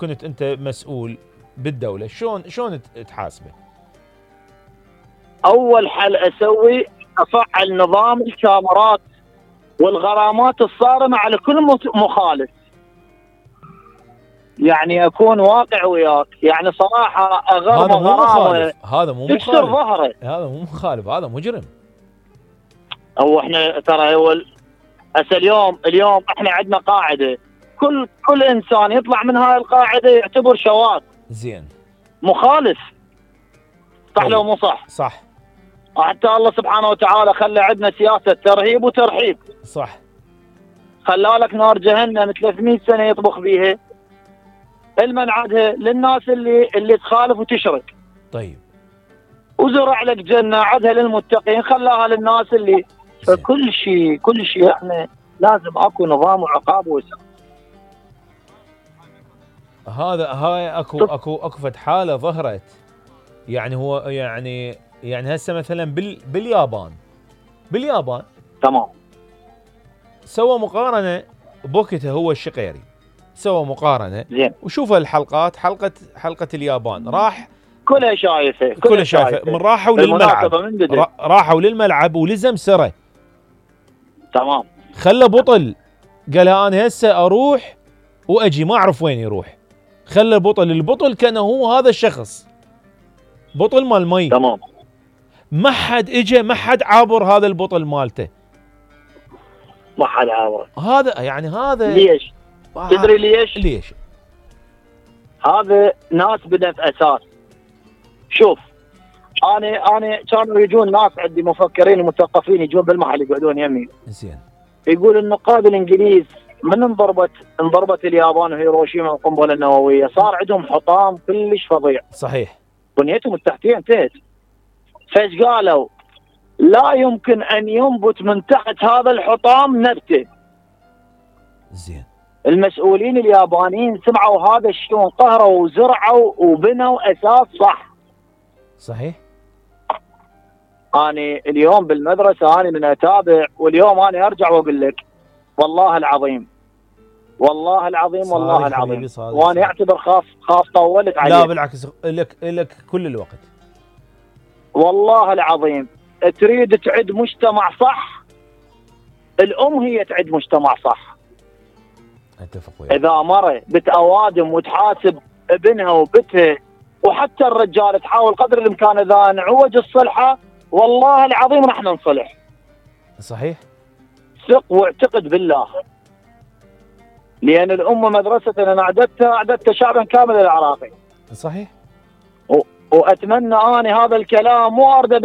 كنت انت مسؤول بالدولة شلون تحاسبه؟ اول حل اسوي افعل نظام الكاميرات والغرامات الصارمة على كل مخالف. يعني اكون واقع وياك، يعني صراحة هذا مو غرامة مخالف، هذا مو تكسر مخالف، ظهره. هذا مو مخالف، هذا مجرم. هو احنا ترى هسه اليوم احنا عندنا قاعدة، كل انسان يطلع من هاي القاعدة يعتبر شواذ زين مخالف. صح طيب. لو مو صح؟ صح. حتى الله سبحانه وتعالى خلى عندنا سياسة ترهيب وترحيب. صح. خلى لك نار جهنم 300 سنة يطبخ بيها، المن عدها للناس اللي تخالف وتشرك. طيب. وزرع لك جنة عدها للمتقين، خلاها للناس اللي فكل شيء احنا لازم اكو نظام وعقاب وسق. هاي اكو فد حالة ظهرت، يعني هو يعني هسه مثلا باليابان تمام سوى مقارنة بوقتها، هو الشقيري سوى مقارنة زين، وشوف الحلقات، حلقة اليابان، راح كلها شايفة من راحوا للملعب ولزم سره. تمام. خلى بطل قال انا هسه اروح واجي ما اعرف وين يروح، خلى البطل كان هو هذا الشخص، بطل مال مي. تمام. ما حد اجى، ما حد عابر هذا البطل مالته، ما حد عابر. هذا ليش؟ تدري ليش؟ هذا ناس بدأت اساس. شوف، انا كانوا يجون ناس عندي مفكرين ومثقفين يجون بالمحل يقعدون يمي. زين. يقول النقاد الانجليز من انضربت اليابان وهيروشيما القنبله النوويه صار عندهم حطام كلش فظيع. صحيح. بنيتهم التحتيه انتهت. فايش قالوا؟ لا يمكن ان ينبت من تحت هذا الحطام نبته. زين. المسؤولين اليابانيين سمعوا هذا الشيء وانقهروا وزرعوا وبنوا اساس صح. صحيح. أنا اليوم بالمدرسة أنا من أتابع، واليوم أنا أرجع وأقول لك والله العظيم وأنا أعتبر خاف طولت عليك. لا بالعكس، لك كل الوقت. والله العظيم تريد تعد مجتمع صح، الأم هي تعد مجتمع صح. أتفق وياك. إذا مرة بتأوادم وتحاسب ابنها وبتها، وحتى الرجال تحاول قدر الإمكان إذا نعوج الصلحة والله العظيم راح ننصلح. صحيح. ثق واعتقد بالله، لأن الأمة مدرسة أنا أعددتها شعبا كامل العراقي. صحيح. وأتمنى أنا هذا الكلام مو أرد